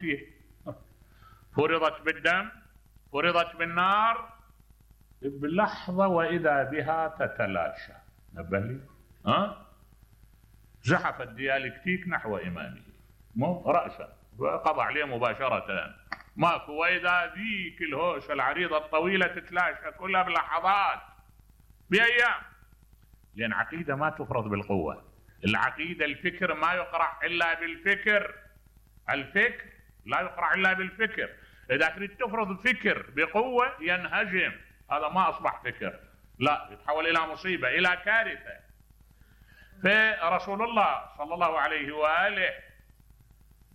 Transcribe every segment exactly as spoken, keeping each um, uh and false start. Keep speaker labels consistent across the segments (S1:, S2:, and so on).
S1: فيه. فرضت بالدم، فرضت بالنار، بلحظة وإذا بها تتلاشى. نبهلي ها زحف الديالكتيك نحو إمامه مو رأسا وقضى عليه مباشرة، ماكو. وإذا ذيك الهوشة العريضة الطويلة تتلاشى كلها بلحظات بأيام، لأن عقيدة ما تفرض بالقوة. العقيدة الفكر ما يقرع إلا بالفكر، الفكر لا يقرع إلا بالفكر. إذا تريد تفرض فكر بقوة ينهجم، هذا ما أصبح فكر، لا، يتحول إلى مصيبة، إلى كارثة. فرسول الله صلى الله عليه وآله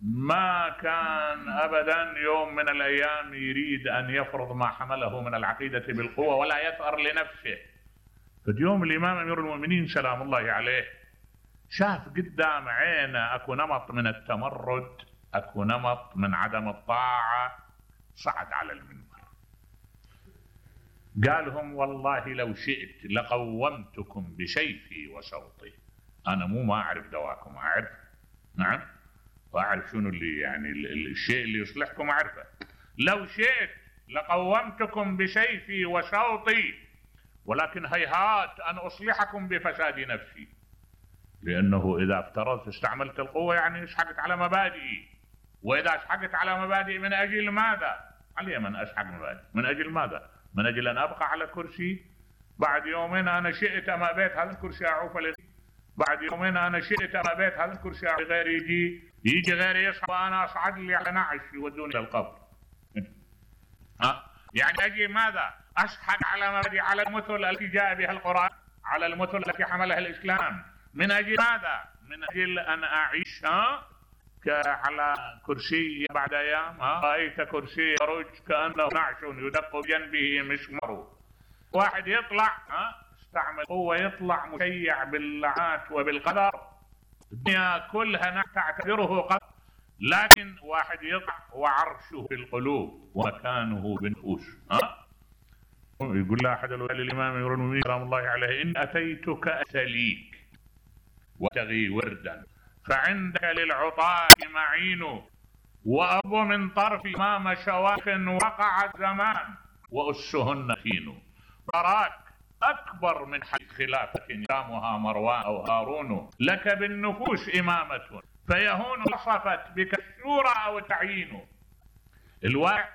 S1: ما كان أبدا يوم من الأيام يريد أن يفرض ما حمله من العقيدة بالقوة ولا يثأر لنفسه. فاليوم الإمام أمير المؤمنين سلام الله عليه شاف قدام عينه أكو نمط من التمرد، أكو نمط من عدم الطاعة، صعد على المنبر قالهم والله لو شئت لقومتكم بسيفي وصوتي. أنا مو ما أعرف دواكم، أعرف، نعم، وأعرف شنو اللي يعني الشيء اللي يصلحكم أعرفه. لو شئت لقومتكم بسيفي وصوتي، ولكن هيهات أن أصلحكم بفساد نفسي، لأنه إذا افترضت استعملت القوة يعني اشحقت على مبادئي، وإذا اشحقت على مبادئي من أجل ماذا؟ علي من أشحق مبادئ من أجل ماذا؟ من أجل أن أبقى على كرسي. بعد يومين أنا شئت أما بيت هذا الكرسي أعوف لي، بعد يومين أنا شئت أما بيت هذا الكرسي أعوف غير يجي يجي غير يصحى وأنا أصعد لي على نعش يودوني للقبر. ها يعني أجي ماذا؟ أشحق على مبادئ، على المثل التي جاء بها القرآن، على المثل التي حملها الإسلام. من أجل ماذا؟ من أجل أن أعيش على كرسي بعد أيام. رأيت كرسي يرج كأنه نعش يدق بجنبه مسمار. واحد يطلع استعمل قوة يطلع مشيع باللعنات وبالقدر، الدنيا كلها تعتبره قدر، لكن واحد يطلع وعرشه في القلوب ومكانه بالنفوس. يقول له أحد الإمام أمير المؤمنين سلام الله عليه إن أتيتك أسليك وتغي وردا فعندك للعطاة معين، وأبو من طرف إمام شواخ وقع الزمان وأسهن كين. أراك أكبر من حي خلافة يامها مروان أو هارون، لك بالنفوس إمامة فيهون وصفت بك الشورى أو تعيين. الواقع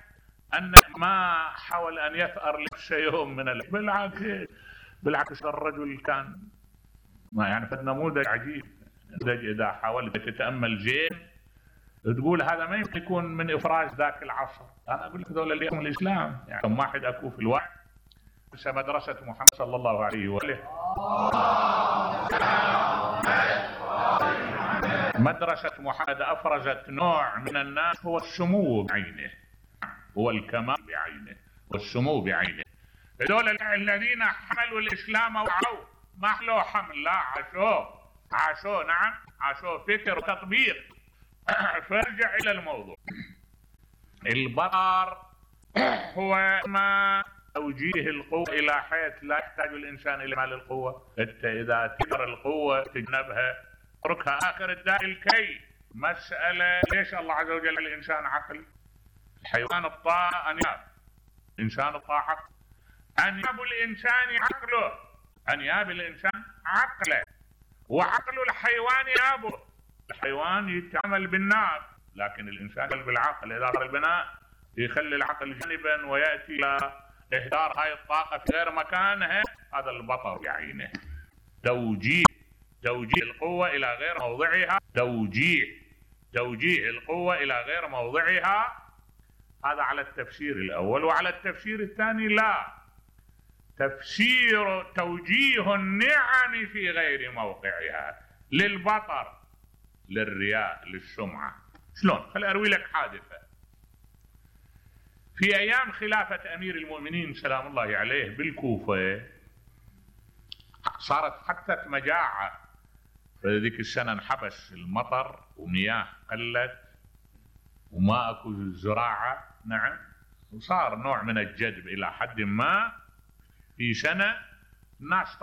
S1: أن ما حاول أن يثأر نفسه يوم من ال... بالعكس بالعكس الرجل كان ما يعني في النموذج عجيب. إذا حاولت تتأمل زين تقول هذا ما يمكن يكون من إفراز ذاك العصر. أنا أقول لك ذولا اليوم الإسلام يعني كم واحد أكو في الوعي. مدرسة محمد صلى الله عليه وآله، مدرسة محمد أفرزت نوع من الناس هو السمو بعينه، هو الكمال بعينه والسمو بعينه. هذول الذين حملوا الإسلام وعوا ما حلو حمل، لا عاشوه عاشوه نعم عاشوه فكر وتطبيق. فارجع إلى الموضوع. البطر هو ما توجيه القوة إلى حيث لا يحتاج الإنسان إلى مال القوة. أنت إذا تقدر القوة تجنبها اتركها. آخر الداء الكي. مسألة ليش الله عز وجل الإنسان عقل؟ الحيوان الطاعة أنياب، إنسان الطاعة عقل. أنياب الإنسان عقله، أنياب الإنسان عقله، وعقل الحيوان يابه. الحيوان يتعامل بالناب لكن الإنسان بالعقل. إذا صار البناء يخلي العقل جانبا ويأتي إلى إهدار هاي الطاقة في غير مكانها، هذا البطر بعينه. توجيه توجيه القوة إلى غير موضعها، توجيه توجيه القوة إلى غير موضعها. هذا على التفسير الأول. وعلى التفسير الثاني لا، تفسير توجيه النعم في غير موقعها، للبطر، للرياء، للسمعة. شلون؟ خل أروي لك حادثة. في أيام خلافة أمير المؤمنين سلام الله عليه بالكوفة صارت حتى مجاعة. فذيك السنة انحبس المطر ومياه قلت وما أكو زراعة، نعم، وصار نوع من الجدب إلى حد ما. في سنة الناس